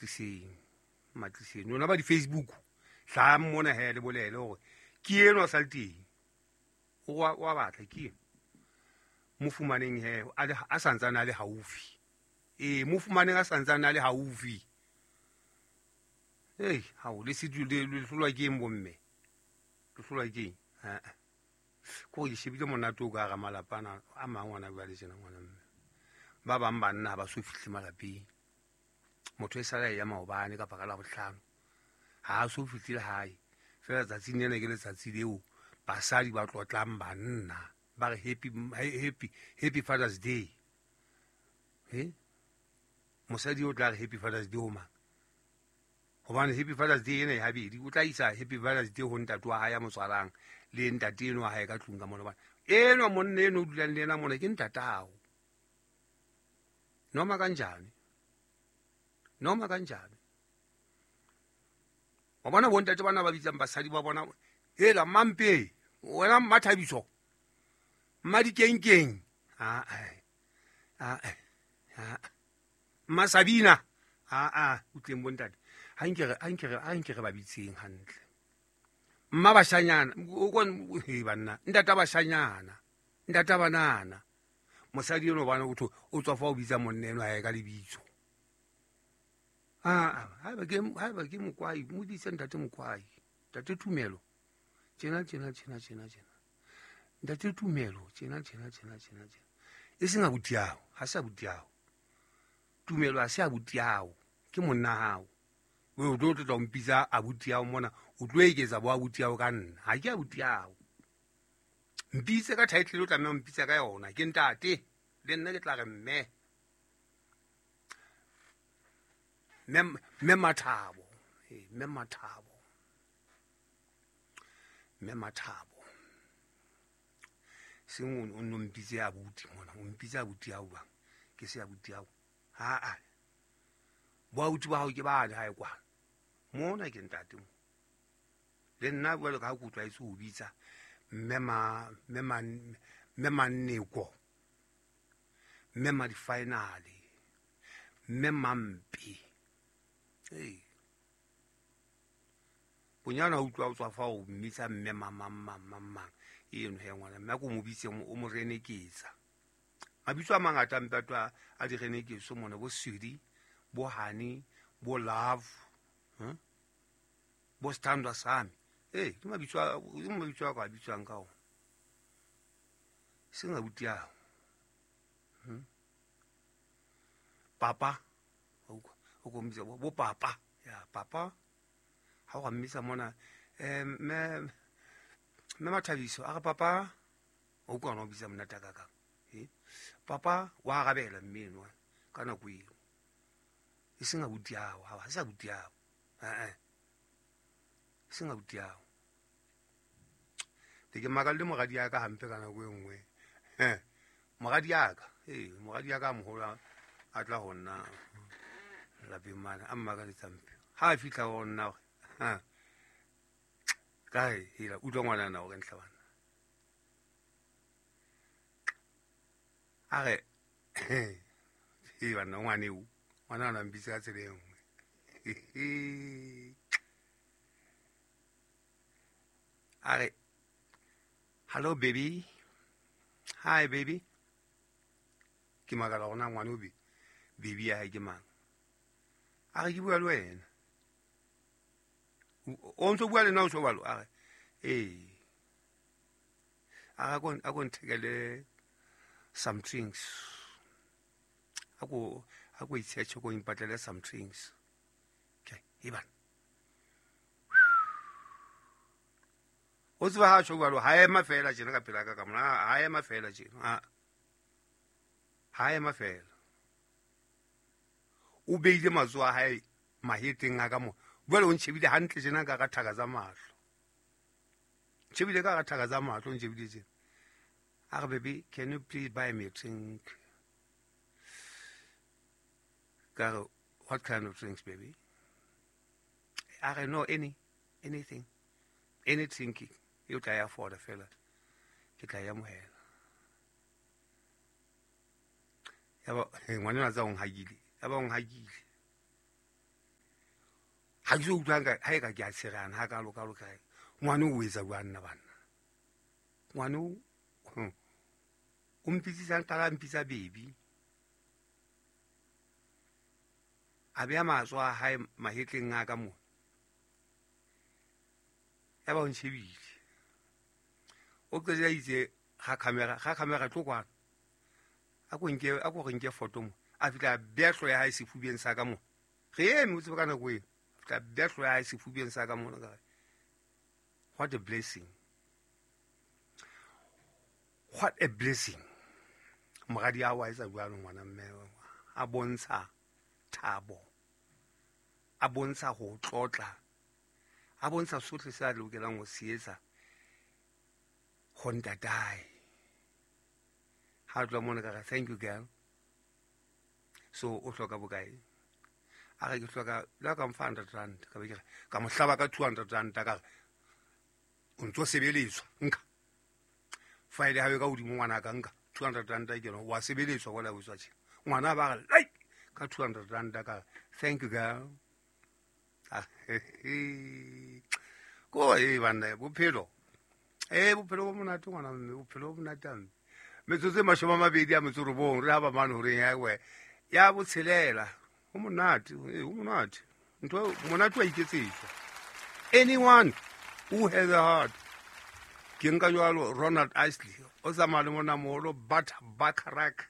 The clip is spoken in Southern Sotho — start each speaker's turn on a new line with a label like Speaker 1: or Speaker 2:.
Speaker 1: Tliseng, matliseng lona ba di-Facebook, hlahang mona he, le bolele hore ke enwa sa le teng, o wa batla ke eno. Mo fumaneng he a santsane a le haufi. Ee, mo fumaneng a santsane a le haufi. Ei, hao le se le hlolwa ke eng bomme? Le hlolwa ke eng? Ha. Ko ke shebile monate o ka hara malapa ana a mang ona jwale tjena ngwana mme. Ba bang banna ha ba so fihle malapeng. Motho e sala ya maobane kapa ka Labohlano, ha a so fihlile hae. Feela tsatsing lena ke letsatsi leo basadi ba tlotlang banna, ba re happy, happy, happy Father's Day. He? Mosadi o tla re happy Father's Day ho mang? Hobane happy Father's Day ena e habedi, o tla isa happy Father's Day ho ntate wa hae ya mo tswalang le ntate eno wa hae ka tlung ka mona. Hobane enwa monna eno o dulang le yena mona ke ntatao. Noma kanjani? Noma kanjani? Wa bona bontate bana ba bitsang basadi ba bona, hela mampe, wena Mmathabiso, Mmadikenkeng, a a a Mmasabina, a a utleng bontate. Ha nke re ba bitseng hantle. Mma bashanyana, o kon he banna, ntata bashanyana, ntata banana. Mosadi eno bana o tho o tswa fa o bitsa monna eno hae ka lebitso. Ah, haeba ke Mokwai, mo bitse ntate Mokwai, ntate Tumelo. Tjena tjena tjena tjena tjena. Ntate Tumelo, tjena tjena tjena tjena tjena. E seng abuti hao, ha se abuti hao. Tumelo ha se abuti hao, ke monna hao. O tlo tla o mpitsa abuti hao mona, o tlo eketsa bo abuti hao ka nna. Ha ke abuti hao. Mpitse ka title o tlameha ho mpitsa ka yona, ke ntate, le nna ke tla re mme. Mme Mathabo, mme Mathabo. Mme Mathabo. Seng o no mpitse abuti mona, o mpitse abuti hao bang. Ke se abuti hao. Ha a. Bo abuti ba hao ke ba hae kwana. Mona ke ntate mo. Le nna jwalo ka ha ke utlwaetse ho bitsa mme Manneko, mme Madifinale, mme Mampe. Ee. Bonyane ha utlwa o tswa fa o mmitsa mme mang, mang, mang, mang, mang. Eno he ngwana, mme a ko mo bitse o mo reneketsa. Mabitso a mangata a mpe a di reneketso mona, bo Sudi, bo Honey, bo Love, Bo Standwa Sami. Ee, ke mabitso a, ke mabitso a ka bitswang ka ona. Seng abuti ao. Papa. O ko mmitsa bo papa. Ya, papa. Ha o ka mmitsa mona, mme Mathabiso, a re papa, o utlwa ona o bitsa monate a kakang. Papa, wa arabela mme enwa ka nako eo. E seng abuti ao, ha se abuti ao. Eh. E seng abuti ao. Ke makalle moradi ya ka hampe ka nako e nngwe. Moradi ya ka, ee, moradi ya ka moholo a tla ho nna lapeng mane, a mmakaletse hampe. Ha a fihla ho nna hore, ha, kae, hela, utlwa ngwanana hore ntlha bana. A re, ee, banna, ngwaneo, ngwanana a mpitse ka tsela e nngwe. A re, hello baby, hi baby. Ke makala hore na ngwana o baby ya hae ke mang. A re ke bua le wena. O ntso bua le nna o tjho jwalo? A re, ee. A re, a ko nthekele some drinks. A ko itshetjhe, ko impatlele some drinks. Okay, e bana. O tseba ha tjho jwalo, ha ema feela tjena ka pela ka ka mona, ha ema feela tjena. Ha ema feela. O beile matsoho a hae maheteng a ka mona. Jwale o ntjhebile hantle tjena ka thaka tsa mahlo. Ntjhebile ka thaka tsa mahlo, ntjhebile tjena. A re, baby, can you please buy me a drink? Ka re, what kind of drinks, baby? A re, no, anything. Any drink e o tla ya afford fela. Ke tla ya amohela. Yaba, ngwanenwa tsa o nhakile. Yaba o nhakile. Ga ke so utlwang ga e ka ke a tshegana ga kalo-kalo kae. Ngwane o etsa jwang nna banna? Ngwane o mpitsisang qala mpitsa baby. A beya matsoho a hae mahetleng a ka mona. Ya ba o ntshebile. O qetella itse ga camera tlo kwana. A ko re nke photo mo. A fihla beya hlooho ya hae sefubeng sa ka mona. Re eme o tsebe ka nako eo. A fihla beya hlooho ya hae sefubeng sa ka mona ka re, what a blessing. What a blessing. Moradi a wa etsa jwalo ngwana mme, a bontsha thabo, a bontsha ho tlotla, a bontsha sohle se a lokelang ho se etsa ho ntatae. Ha tloha mona ka re, thank you girl. So o hloka bokae? A re ke hloka la ka mfa 100 rand. Ka be ke re, ka mo hlaba ka 200 rand ka re o ntso sebeletswa nka. File ha e ka hodimo ngwana ka nka 200 rand ke no wa sebeletswa wala o tswa tjhe. Ngwana ba re like ka 200 rand ka thank you girl. Ko e banna bophelo. Bophelo bo monate ngwana mme, bophelo bo monate mme. Metsotso e 29 re ha ba mane horeng ya we. Ya botshelela. Ho monate, ho monate. Ntho monate wa iketsetswa. Anyone who has a heart. Ke nka jwalo Ronald Isley o tsamaya le mona moholo Burt Bacharach.